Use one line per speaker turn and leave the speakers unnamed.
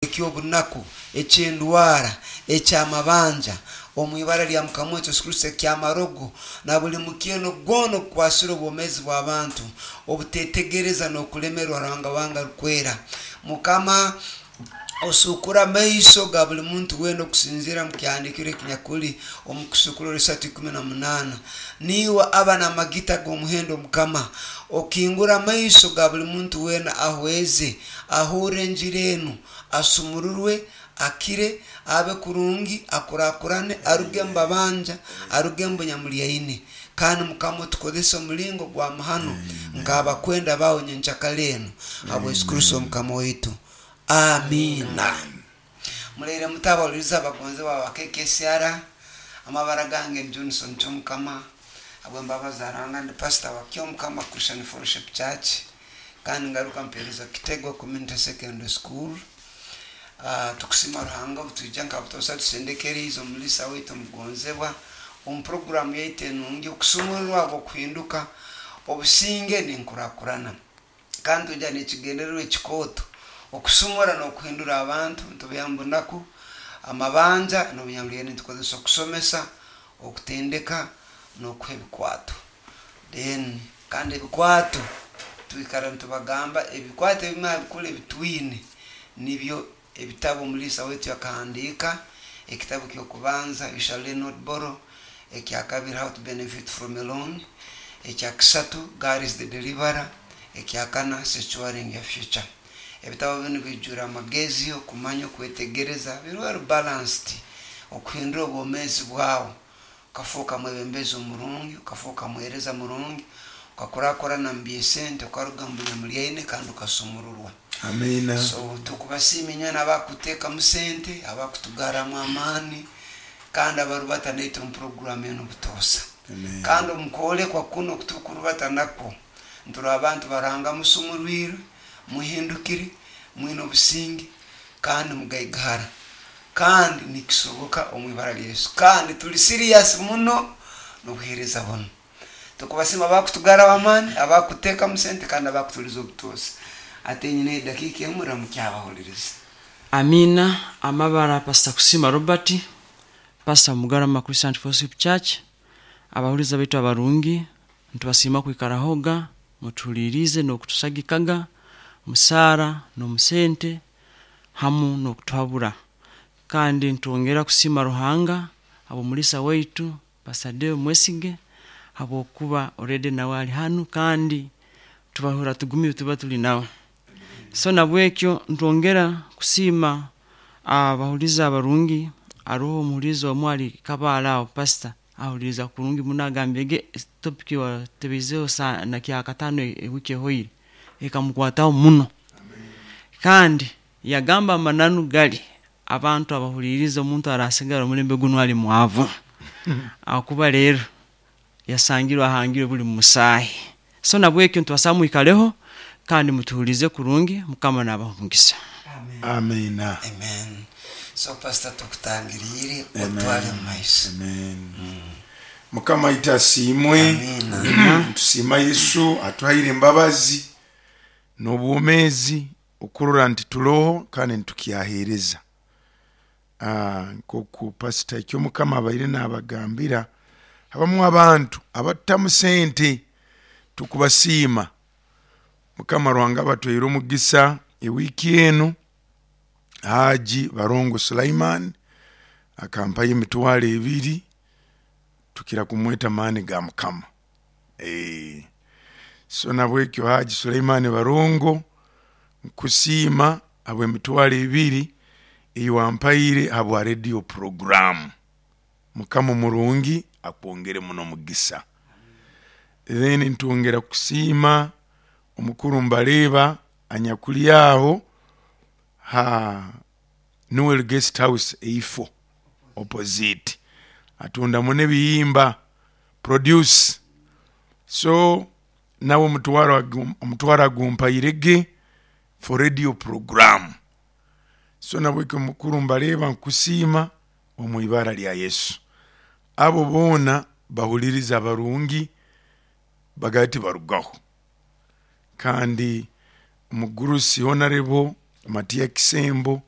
Eky'obunaku, eky'endwara, eky'amabanja, omu ibara lya Mukama waitu Yesu Kristo, eky'amarogo, na buli mukyeno gwona ogukwasire obwomeezi bw'abantu, obuteetegereza n'okulemerwa Ruhanga wange arukwera. Mukama, osuukure amaiso ga buli muntu weena okusinziira mu kyahandiikirwe ekinyakuli omu Kusuukururwa 3:18. Niiwe aba n'amagita g'omuhendo Mukama. Okingure amaiso ga buli muntu weena ahweze, ahurre enjiri enu, asumururwe, akire, abe kurungi, akurakurane, aruge omu babanja, aruge omu bunyamulyaine. Kandi Mukama otukozese omulingo gwa mahano nk'abakwenda baawe nyenkyakara enu, habwa Yesu Kristo Mukama waitu. Amiina. Muraire muta abahuliriza abagonzebwa aba KKCR? Amabara gange ni Johnson Kyomukama. Habw'embabazi za Ruhanga ndi pasita wa Kyomukama Christian Fellowship Church. Kandi ngaruka mpeereza Kitego Community Secondary School. Tukusiima Ruhanga obutwija nka butoosa tusendekeriize omuliisa waitu omugonzebwa omu puroguraamu yaitu enungi okusumururwa habw'okuhinduka, obusinge n'enkurakurana. Kandi twija n'ekigendererwa ekikooto okusumura n'okuhindura abantu nitubaiha omu bunaku, amabanja n'obunyamurenge nitukozesa okusomesa, okutendeka n'okuha ebikwato. Then kandi ebikwato twikara nitubagamba ebikwato ebimu aha bikuru ebitwine nibyo ebitabu omuliisa waitu yakahandiika, ekitabu ky'okubanza You Shall Learn Not Borrow, ekyakabiri How to Benefit From a Loan, ekyakisatu God is the Deliverer, ekyakana Securing Your Future. Ebitabo binu bijwire amagezi, okumanya, okwetegereza, biri well balanced okuhindura obwomeezi bwawe. Okafooka mwebembezi omurungi, okafooka muheereza murungi, okakurakurana omu by'esente, okaruga omu bunyamulyaine kandi okasumururwa.
Amiina.
So tukubasiima inywena abakuteekamu sente, abakutugarramu amaani kandi abarubata naitwe omu puroguraamu enu butoosa.
Amen.
Kandi omu kwolekwa kunu oku turukurubata nakwo, niturora abantu ba Ruhanga musumurwirwe, muhindukire, mwine obusinge kandi mugaigahara. Kandi nikisoboka omu ibara lya Yesu. Kandi tuli serious muno n'obuheereza bunu. Tukubasiima abakutugaraho amaani, abakutekamu sente kandi abakutuliza obutoosa. Ate nyineho edakiika emu ramukya abahuliriza.
Amiina amabara Pastor Kusiima Robert, Pastor Mugarama Christian Fellowship Church. Abahuliiriza baitu abarungi, nitubasiima kwikarahoga mutuhuliiriize n'okutusagikaga musaara n'omu sente hamu n'okutuhabura. Kandi nitwongera kusiima Ruhanga habw'omuliisa waitu Pastor Deo Mwesige habwokuba already nawe ali hanu kandi tubahurra tugumire tuba tuli nawe. So nabwekyo nitwongera kusiima abahuliiriza abarungi, haroho omuhuliiriza omu ali Kabale aho pastor ahuliiriza kurungi muno agambire topic watebiizeho na kyakataano ewiiki ehoire ekamukwataho muno. Kandi yagamba amananu gali abantu abahuliiriza omuntu arasigara omulembe gunu ali mwavu ahakuba rero yasangirwe ahangirwe buli musaahi. So nabwekyo nitubasaba mwikaleho kandi mutuhuliirize kurungi Mukama nabaha omugisa.
Amiina.
Amen. So pastor tukutangiriire otwale omu maiso.
Amen. Mukama waitu asiimwe.
Amiina.
Nitusiima Yesu atuhaire embabazi n'obwomeezi okurora nti turoho kandi nitukyaheereza. Nk'oku pasita Ekyomukama abaire nabagambira, habamu abantu abatutamu sente tukubasiima. Mukama Ruhanga abatweire omugisa ewiiki enu, Haji Barongo Sulaiman akampayo emitwaro ebiri, tukira kumweta maani ga Mukama. So nabwekyo Haji Sulaiman Barongo nkusiima habw'emitwaro ebiri ei wampaire habwa radio program. Mukama omurungi akwongere muno omugisa. Then nitwongera kusiima omukuru Mbareeba anyakuri aho ha Noel Guest House eifo opposite atundamu n'ebihimba produce so nawe omutwaro agumpaire ge for radio program so nabwekyo mukuru Mbareeba nkusiima omu ibara rya Yesu. Abo boona bahuliriza abarungi bagaba tibarugaho kandi omugurusi Honorable Matia Kisembo.